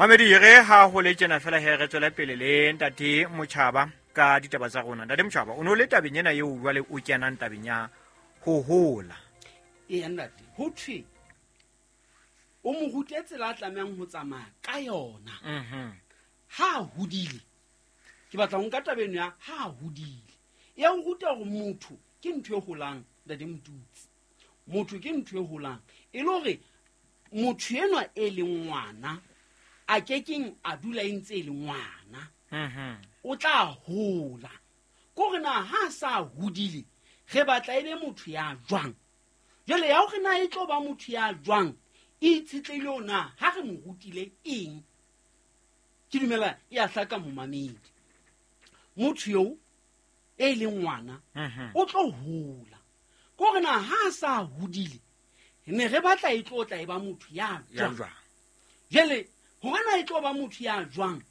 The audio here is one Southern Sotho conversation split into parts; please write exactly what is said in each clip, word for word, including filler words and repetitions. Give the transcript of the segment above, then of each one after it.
Mamedi re ha ho le tjena fela he re tswele pele le ntate Motjhaba ka ditaba tsa rona. Ntate Motjhaba, o no le tabeng ena eo jwale o kenang tabeng ya ho hola. Eya ntate, ho thwe o mo rute tsela a tlamehang ho tsamaya ka yona. Mhm. Ha a hodile, ke batla ho nka taba eno ya ha a hodile. E a o ruta hore motho ke ntho e holang, ntate Motutsi. Motho ke ntho e holang. E le hore motho enwa e leng ngwana a kekeng a dula e ntse e le ngwana. Mhm. O tla hola. Ke hore na ha a sa hodile, re batla e be motho ya jwang? Jwale ya hore na e tlo ba motho ya jwang, e itshetlehile ho na ha re mo rutile eng? Ke dumela e a hlaka momamedi. Motho eo e leng ngwana, Mhm. o tlo hola. Ke hore na ha a sa hodile, ne re batla e tlo tla e ba motho ya Ya jwang? jwang? Jwale hore na e tlo ba motho ya jwang,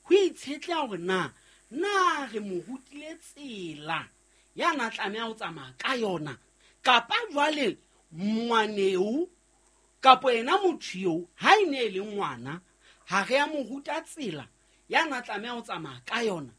ho itshetleha hore na, na re mo rutile tsela ya na tlameha ho tsamaya ka yona, kapa jwale ngwaneo kapo yena motho eo ha e ne e le ngwana, ha re a mo ruta tsela ya na tlameha ho tsamaya ka yona.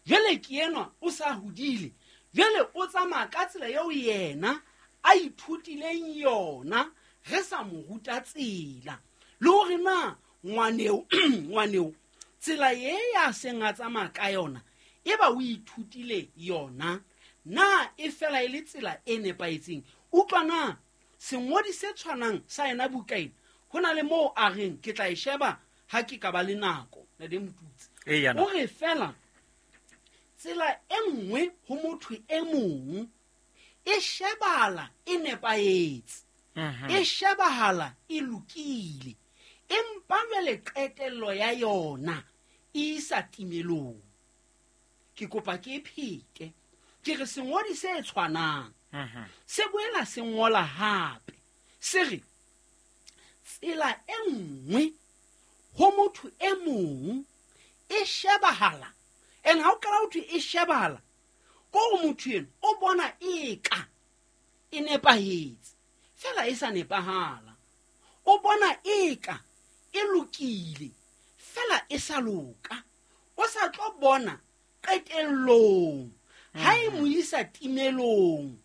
Jwale ke enwa o sa hodile, jwale o tsamaya ka tsela eo yena a ithutileng yona, re sa mo ruta tsela. Le hore na ngwaneo, ngwaneo tsela e ya seng a tsamaya ka yona, e ba o ithutile yona, na e fela e le tsela e nepahetseng? Utlwa na sengodi se tshwanang sa yena buka ena, ho na le moo a reng ke tla e sheba ha ke ka ba le nako, Ntate Motutsi. Eya, O re fela tsela e nngwe ho motho e mong e shebala e nepahetse, Mhm. e shebahala e lokile, empa jwale qetello ya yona e isa timelong. Ke kopa ke e phete, ke re sengodi se tshwanang Mhm. se boela se ngola hape, se re tsela e nngwe ho motho e mong e shebahala, and ha o qala ho thwe e shebahala, ke hore motho eno o bona eka e nepahetse, fela e sa nepahala. O bona eka e lokile, fela e sa loka. O sa tlo bona qetellong ha e mo isa timelong,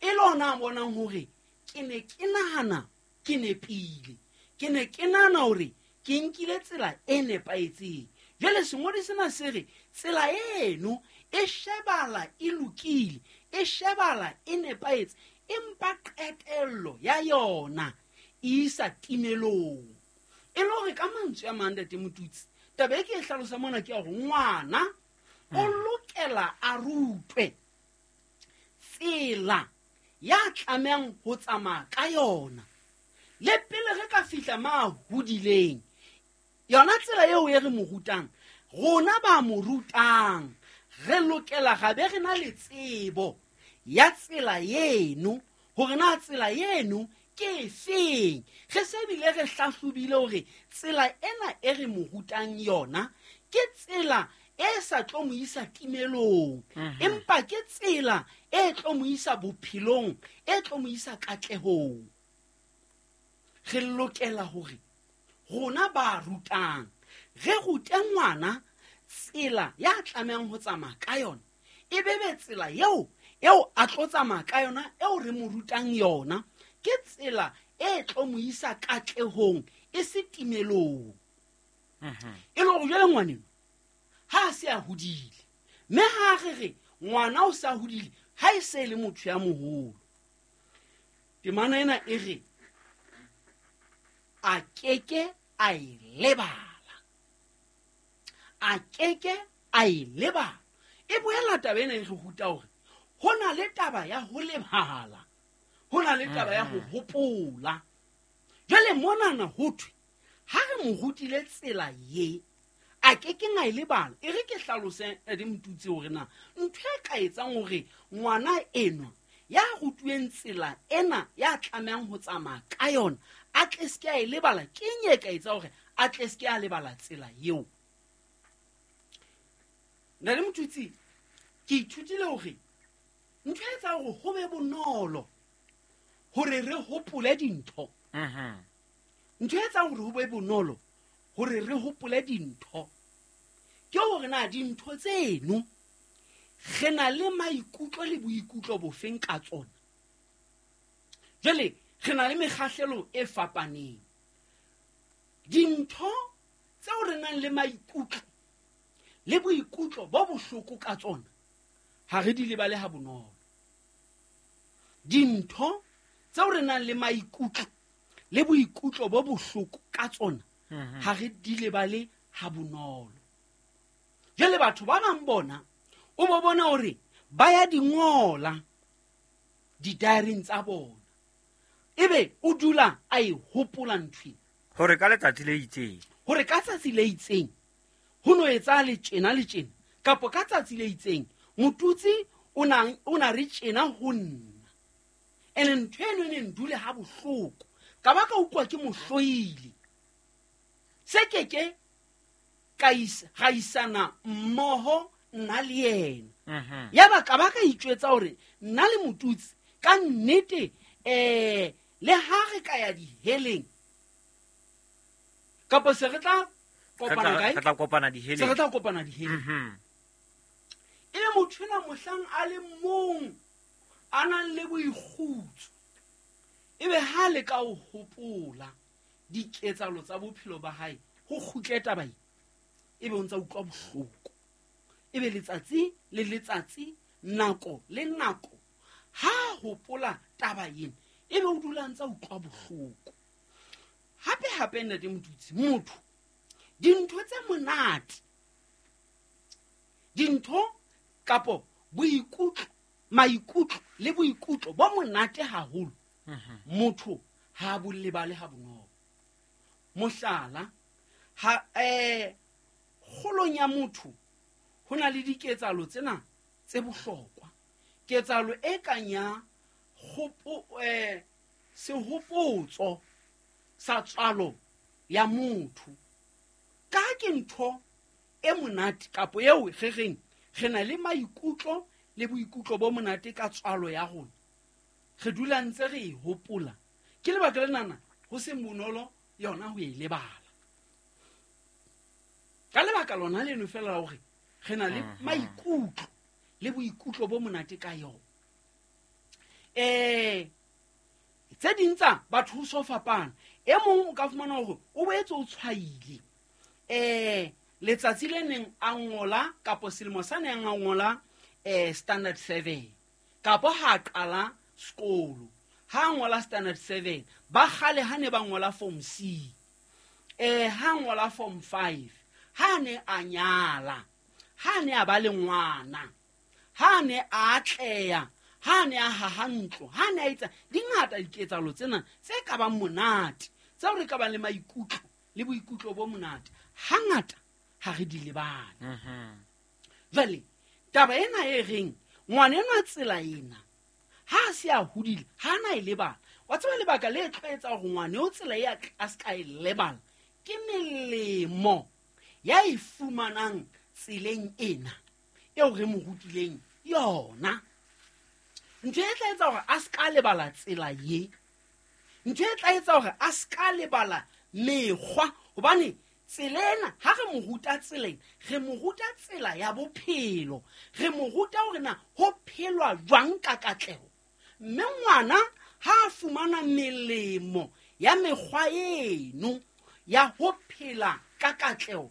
e le hona a bonang hore ke ne ke nahana ke nepile, ke ne ke nahana hore ke nkile tsela e nepahetseng. Jwale sengodi sena se re tsela eno e shebala e lokile, e shebala e nepahetse, empa qetello ya yona e isa timelong. E le hore ka mantswe a mang, Ntate Motutsi, taba e ke e hlalosa mona ke ya hore ngwana o lokela a rutwe tsela ya tlamehang ho tsamaya ka yona. Le pele re ka fihla ma hodileng, yona tsela eo e re mo rutang, rona ba mo rutang, re lokela ga be re na le tsebo ya tsela eno, hore na tsela eno ke efeng. Re se bile re hlahlobile hore tsela ena e re mo rutang yona ke tsela e sa tlo mo isa timelong, Mhm. empa ke tsela e tlo mo isa bophelong, e tlo mo isa katlehong. Re lokela hore rona ba rutang re rute ngwana tsela ya tlamehang ho tsamaya ka yona, e be be tsela eo, eo a tlo tsamaya ka yona, eo re mo rutang yona, ke tsela e tlo mo isa katlehong, e se timelong. Mhm. E le hore jwale ngwaneno ha a se a hodile, mme ha re re ngwana o sa hodile, ha e se e le motho ya moholo. Temana ena e re a keke a e lebala, a keke a e lebala. E boela taba ena e re ruta hore ho na le taba ya ho lebala, ho na le taba ya ho Mhm. hopola. Jwale monana ho thwe ha re mo rutile tsela ye, a ke ke a e lebala. E re ke hlalose, Ntate Motutsi, hore na ntho e ka etsang hore ngwana enwa ya rutuweng tsela ena ya tlamehang ho tsamaya ka yona a tle se ke a e lebala, ke eng e ka etsa hore a tle se ke a lebala tsela eo? Ntate Motutsi, ke ithutile hore ntho e etsang hore ho be bonolo hore re hopole dintho, Mhm. ntho e etsang hore ho be bonolo hore re hopole dintho ke hore na dintho tseno re na le maikutlo le boikutlo bofeng ka tsona. Jwale re na le mekgahlelo e fapaneng. Dintho tseo re nang le maikutlo le boikutlo bo bohloko ka tsona ha re di lebale ha bonolo. Dintho tseo re nang le maikutlo le boikutlo bo bohloko ka tsona ha re di lebale ha bonolo. Jwale batho ba bang bona o bo bona hore ba ya di ngola di-diary-ing tsa bona, ebe o dula a e hopola ntho ena. Hore ka letsatsi le itseng, hore ka tsatsi le itseng ho no etsa le tjena le tjena, kapa ka tsatsi le itseng motutsi o na o na re tjena ho nna, ene ntho eno e ne ndule ha bohloko ka ba ka utlwa ke mohloile. Se keke ka isa ga isana mmoho nna le yena. Ya ba ka ba ka itjwetsa hore nna le motutsi ka nnete eh le ha re ka ya diheleng kapa se re tla kopana kae, re tla kopana diheleng, se re tla kopana diheleng. E le motho ena mohlang a le mong a nang le boikgutso, ebe ha le ka o hopola diketsalo tsa bophelo ba hae ho kgutle taba e, ebe o ntsa utlwa bohloko. Ebe letsatsi le letsatsi, nako le nako, ha hopola taba ena ebe o dula ntsa utlwa bohloko. Hape hape ntate Motutsi, motho dintho tse monate, dintho kapo boikutlo, maikutlo le boikutlo bo monate haholo, motho ha bo lebale ha bonolo. Mohlala, ha eh kgolong ya motho ho na le diketsalo tsena tse bohlokwa. Ketsalo e kang ya kgopo eh sehopotso sa tswalo ya motho, ka ke ntho e monate kapo eo re reng re na le maikutlo le boikutlo bo monate ka tswalo ya rona, re dula ntse re e hopola. Ke lebaka lenana ho seng bonolo yona ho e lebala. Ka lebaka lona leno fela la hore re na le maikutlo le boikutlo bo monate ka yona. Eh tse ding tsa batho ho so fapana. E mong o ka fumana hore o boetse o tshwaile eh letsatsi le neng a ngola kapo selemo sa neng a ngola eh standard seven, kapo ha qala sekolo ha ngola standard seven, ba kgale ha ne ba ngola form C, eh ha ngola form five, ha ne a nyala, ha ne a ba le ngwana, ha ne a atleha, ha ne a haha ntlo, ha ne a etsa di ngata diketsalo tsena tse ka bang monate, tseo re ka bang le maikutlo le boikutlo bo monate, hangata ha re di lebale. Jwale taba ena e reng ngwana enwa tsela ena ha se a hodile ha na e lebala. Wa tseba lebaka le tlo etsa hore ngwana o tsela e a se ka e lebala ke melemo ya e fumanang tseleng ena eo re mo rutileng yona. Ntho e tla etsa hore a se ka lebala tsela ye, ntho e tla etsa hore a se ka lebala mekgwa, hobane tsela ena ha re mo ruta tseleng, re mo ruta tsela ya bophelo, re mo ruta hore na ho phelwa jwang ka katleho. Mme ngwana ha a fumana melemo ya mekgwa eno ya ho phela ka katleho,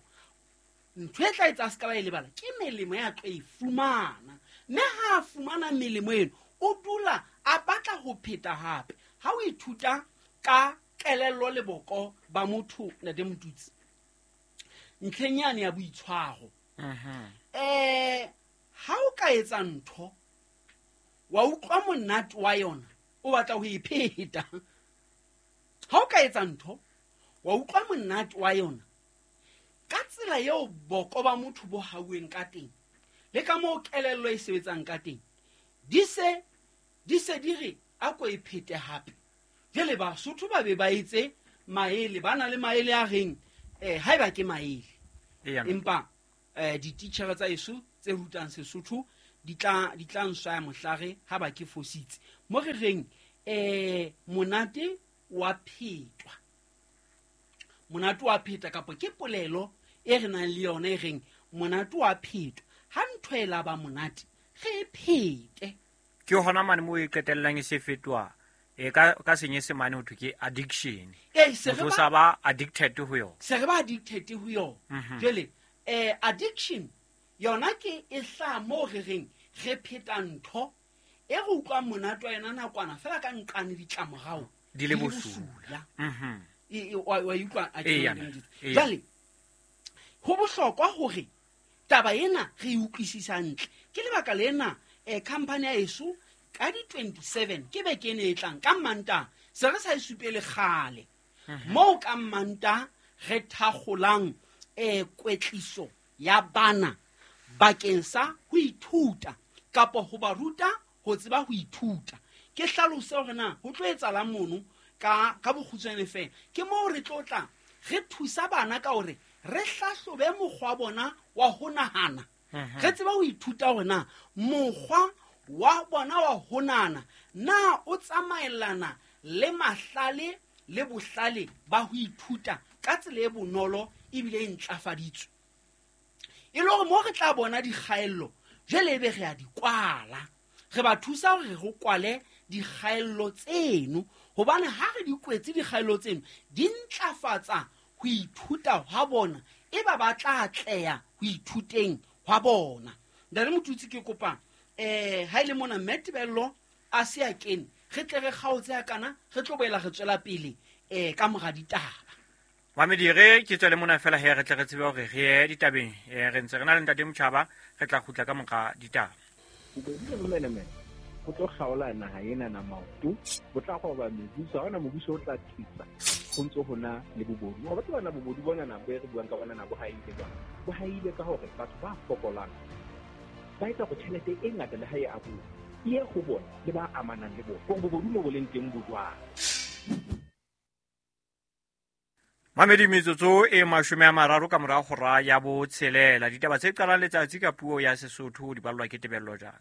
ntho e tla etsa a se ka ba e lebala ke melemo ya tlo e fumana. Mme ha a fumana melemo eno o dula a batla ho pheta hape. Ha o ithuta ka kelello le boko ba motho ntate Motutsi, ntlheng yane ya boitshwaro, eh ha o ka etsa ntho wa utlwa monate wa yona, o batla ho e pheta. Ha o ka etsa ntho wa utlwa monate wa yona, ka tsela eo boko ba motho bo hauweng ka teng le ka moo kelello e sebetsang ka teng, di se di se di re a ko e phete hape. Jwale Basotho ba be ba etse maele, ba na le maele a reng eh haeba ke maele, empa eh dititjhere tsa eso tse rutang Sesotho di tla di tla nswaya mohlare ha ba ke fositse. Mo re reng eh monate wa phetwa, monate wa pheta kapa ke polelo e re nang le yona e reng monate wa phetwa. Ha ntho e la ba monate re e phete. Ke hona mane mo e qetellang e se fetoha e ka ka senyesemane ho thwe ke addiction. Ee, se re Motho o ba sa ba addicted ho yona. Se re ba addicted ho yona. Mhm. Jwale eh addiction yona ke e hlaha moo re reng re pheta ntho e re utlwang monate wa yona nakwana fela ka nqane ditlamorao Di le di le bosula. bosula. Mhm. E, e, wa, wa utlwa a ke Eya, le nnete. eya. Jwale ho bohlokwa hore taba ena re e utlwisisa hantle. Ke lebaka lena eh company ya heso ka di twenty-seven ke beke ena e tlang ka Mantaha, se re sa e supele kgale. Moo ka Mantaha re thakgolang eh kwetliso ya bana bakeng sa ho ithuta kapa ho ba ruta ho tseba ho ithuta. Ke hlalose hore na ho tlo etsahalang mono ka, ka bokgutshwane fela. Ke moo re tlo tla re thusa bana ka hore re hlahlobe mokgwa wa bona wa ho nahana. Mhm. Re tseba ho ithuta hore na mokgwa wa bona wa ho nahana na o tsamaellana le mahlale le bohlale ba ho ithuta ka tsela e bonolo ebile e ntlafaditswe. E le hore moo re tla bona dikgaello, jwale ebe re a di kwala. Re ba thusa hore re kwale dikgaello tseno, hobane ha re di kwetse dikgaello tseno, di ntlafatsa ho ithuta hwa bona, e ba ba tla atleha ho ithuteng hwa bona. Ntate Motutsi, ke kopa eh ha ile mona Mme Tebello a se a kene, re tle re kgaotse ha kana, re tlo boela re tswela pele eh ka mora ditaba. Mamedi, re ke tswele mona fela he re tle re tsebe hore re ye ditabeng. Eh, re ntse re na le Ntate Motjhaba, re tla kgutla ka mora ditaba. Bobodu le bomenemene bo tlo kgaola naha ena na maoto, bo tla roba mebuso, ha hona mobuso o tla tlisa ho ntso ho na le bobodu. Wa tseba na bobodu bona na bo e re buang ka bona na bo haile jwang? Bo haile ka hore batho ba fokolang ba etsa hore tjhelete e ngata le ha e abuwa e ye ho bona le ba amanang le bona. Hore bobodu mo bo leng teng bo jwang? Mamedi, metsotso e mashome a mararo ka mora hora ya botshelela. Ditaba tse qalang letsatsi ka puo ya Sesotho di ballwa ke Tebello Jana.